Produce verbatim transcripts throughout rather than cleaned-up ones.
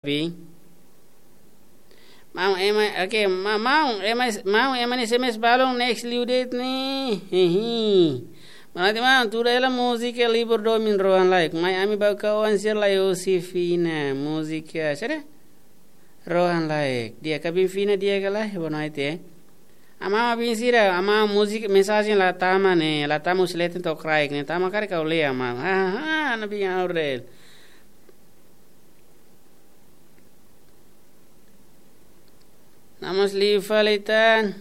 Bi. Maun, ema, oke, ma-, maun, ema, maun, ema nia S M S balun next liu de'it ne'e. Hihi. Mana ti maun, tuda hela múzika Libur Domin Rohan Laek. Mai ami bá ka oan sira lai husi Fina, múzika, sira? Rohan Laek. Di'ak ka biin Fina, di'ak ka lae, boa noite. Amaun, biin sira, amaun múzika, mensajen la tama ne'e, la tama husi leten to'o kraik ne'e, tama karik ha'u lee amaun. Ha, ha, ha, na biin Aurel. Namas liu fali tan.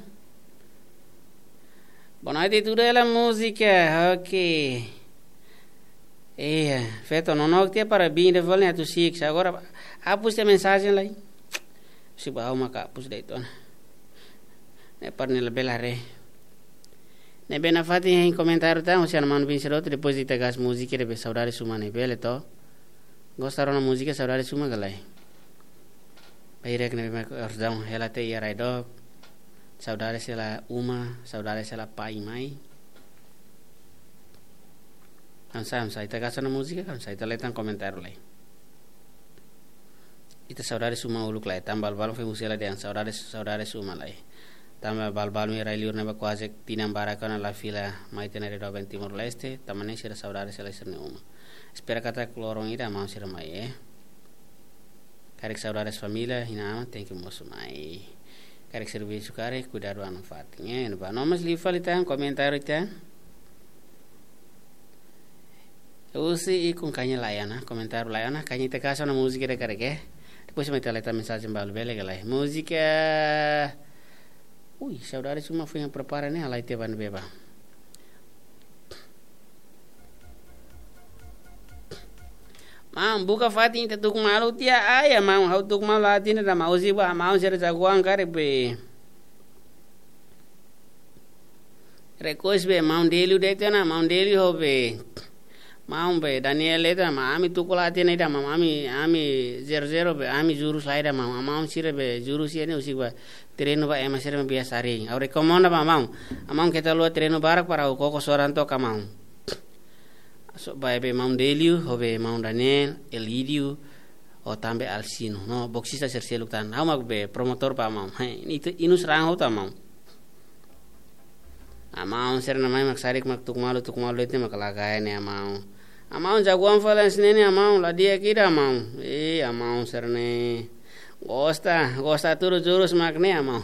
Boa noite, tuda hela múzika. Oke. Iya, feto nonook tiha para biin ida fali ne'e atu siik. Agora, hapus tiha mensajen lai. Siba ha'u maka hapus de'it ona. Ne'e para nia labele haree. Ne'ebé nafatin hein komentáriu tan, husi ana manu biin sira hotu, depois ita gas múzika ida be Saudades Uma ne'e, bele to? Gosta rona múzika Saudades Uma ka lae? Bainhira ne'ebé mak ordaun hela tiha iha rai dook. Saudades hela uma, saudades hela pai mai. Hanesan, hanesan ita gas ona múzika, hanesan ita lee tan komentáriu lai. Ita Saudades Uma uluk lai, tanba balu-balu foin husi hela dehan Saudades, Saudades Uma lai. Tanba balu-balu nia rai liur ne'ebá kuaze tinan barak ona la fila mai tiha iha rai doben Timor-Leste, tanba ne'e sira saudades hela sira-nia uma. Espera katak loron ida amaun sira mai, eh. Karik saudades família, inan-aman, tenke mosu mai. Karik servisu karik, kuidadu an nafatin, eh. Ba, no mas liu fali tan, komentáriu tan. Husi ikun kaña lai ona, komentáriu lai ona, kaña ita gas ona múzika ida karik, eh. Depois mai ita lee tan mensajen balu, bele ka lae? Múzika. Ui, Saudades Uma foin prepara ne'e, halai tiha ba ne'ebé bá. Maun, buka fatin ita tuku malu tiha ai, maun, ha'u tuku malu la hatene ida maun, husi ba maun sira jagoan karik be. Request be maun Delio de'it ona, maun Delio ho be. Maun be Daniel de'it ona, maun ami tuku la hatene ida maun, ami, ami zero zero be, ami jurus la ida maun, maun sira be jurus iha ne'e husi ba treinu ba ema sira be biasa sering. Ha'u rekomenda ba maun. Maun keta haluha treinu barak para ha'u koko soran took ka maun. So, ba be maun Delio, ho be maun Daniel, Elidio, ho tanba Alsino. No, boksista sira seluk tan. Ha'u mak be promotór ba maun. Hai, itu inus rang ho ta maun. Amaun sira-nia mai mak sadik mak tuku malu, tuku malu de'it mak la kae ne'e amaun. Amaun jagoan fali hanesan ne'e ne'e amaun, la di'ak ida amaun. Eh, amaun sira-ne'e. Gosta, gosta tudu jurus mak ne'e amaun.